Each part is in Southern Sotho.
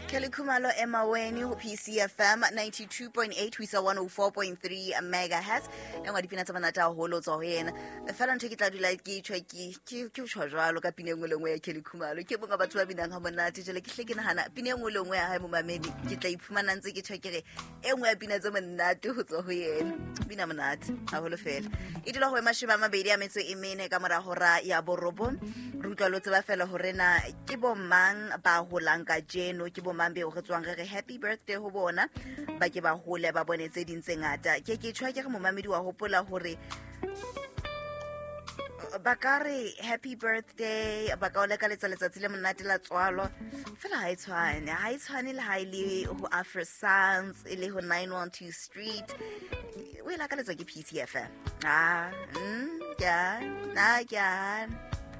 Kelly Khumalo Emaweni ho PCFM 92.8 ho isa 104.3 megahertz. E nngwe ya dipina tse monate haholo tswa ho yena. Fela ntho e ke tla dula ke tjho ke tjho jwalo ka pina e nngwe le nngwe ya Kelly Khumalo. Ke mongwe wa batho ba binang ha monate. Jwale ke hle ke nahana pina e nngwe le nngwe ya hae momamedi ke tla iphumana ntse ke tjho ke re e nngwe ya pina tse monate ho tswa ho yena. Bina monate haholo fela. E dula ho 24 ka mora hora ya borobong. Re utlwa lo tseba fela hore na ke bo mang ba holang kajeno, ke bo mang beo re tswang re re happy birthday ho bona, ba ke ba hole ba bone tse ding tse ngata. Ke ke tjho ke re momamedi wa hopola hore ba ka re happy birthday, ba ka o lakaletsa letsatsi le monate la tswalo, fela ha e tshwane, ha e tshwane le ha e le ho Afro Sounds, e le ho 912 Street, o e lakaletswa ke PCFM. Ah, ke a, na ke a,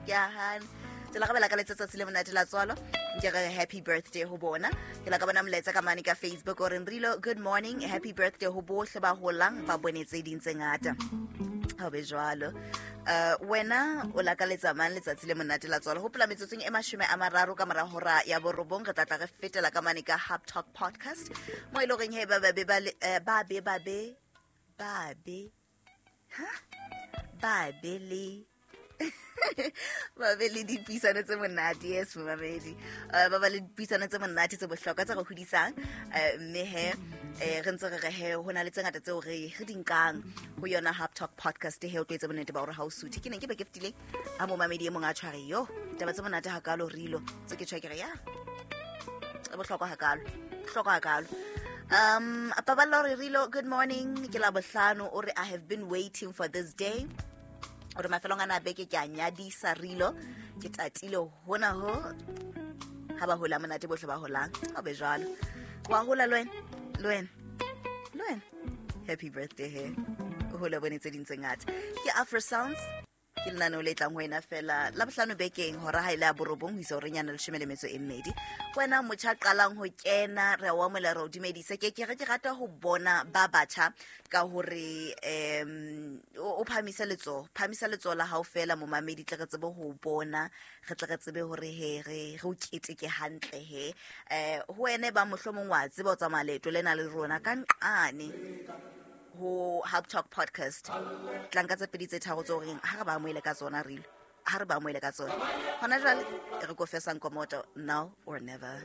ke a hana. Tsela ka ba lakaletsa tsatsi le monate la tswalo, ke re happy birthday ho bona. Ke la ka bona molaetsa ka mane ka Facebook o reng Rilo, good morning, happy birthday ho bohle ba holang ba bone tse ding tse ngata. Ha o be jwalo. Wena o lakaletsa mang letsatsi le monate la tswalo? Hopola metsotsong e 30 ka mora hora ya borobong re tla tla re fetela ka mane ka Hub Talk Podcast, mo e leng horeng he ba ba be ba le, ba be ba be ba be ha ba be le ba be le dipuisano tse monate. Yes, momamedi, ba ba le dipuisano tse monate tse bohlokwa tse re hodisang. Mme he, re ntse re re he ho na le tse ngata tseo re di nkang ho yona Hub Talk Podcast. He o tlo etsa bonnete ba hore ha o suthe. Ke neng ke be ke fetile ha momamedi e mong a tshware yo taba tse monate hakalo rilo tse ke tshwa ke re ya e bohlokwa hakalo, bohlokwa hakalo. Paballo re Rilo, good morning, ke la bohlano. O re I have been waiting for this day. O re mafelong ana a beke ke a nyadisa Rilo, ke tatile hona ho ha ba hola monate bohle ba holang. Ha be jwalo, wa hola le wena, le wena, le wena. Happy birthday he, o hole bone tse ding tse ngata. Ke Afro Sounds, ke lenaneo le tlang ho wena fela la bohlano bekeng hora ha ile ya borobong ho isa horeng ya 12. Wena motjha qalang ho kena, re a o amohela, re o dumedise. Ke ke re ke rata ho bona ba batjha ka hore o phahamise letsoho, phahamisa letsoho la hao fela momamedi, tle re tsebe ho bona, re tle re tsebe hore he re o keteke hantle he. Ho wena e bang mohlomong wa tseba o tsamaya leeto lena le rona ka nqane ho Hub Talk Podcast, tla nka tse pedi tse tharo tse horeng ha re ba amohele ka tsona, re ile ha re ba amohele ka tsona hona jwale. E re ko fesang komoto, now or never.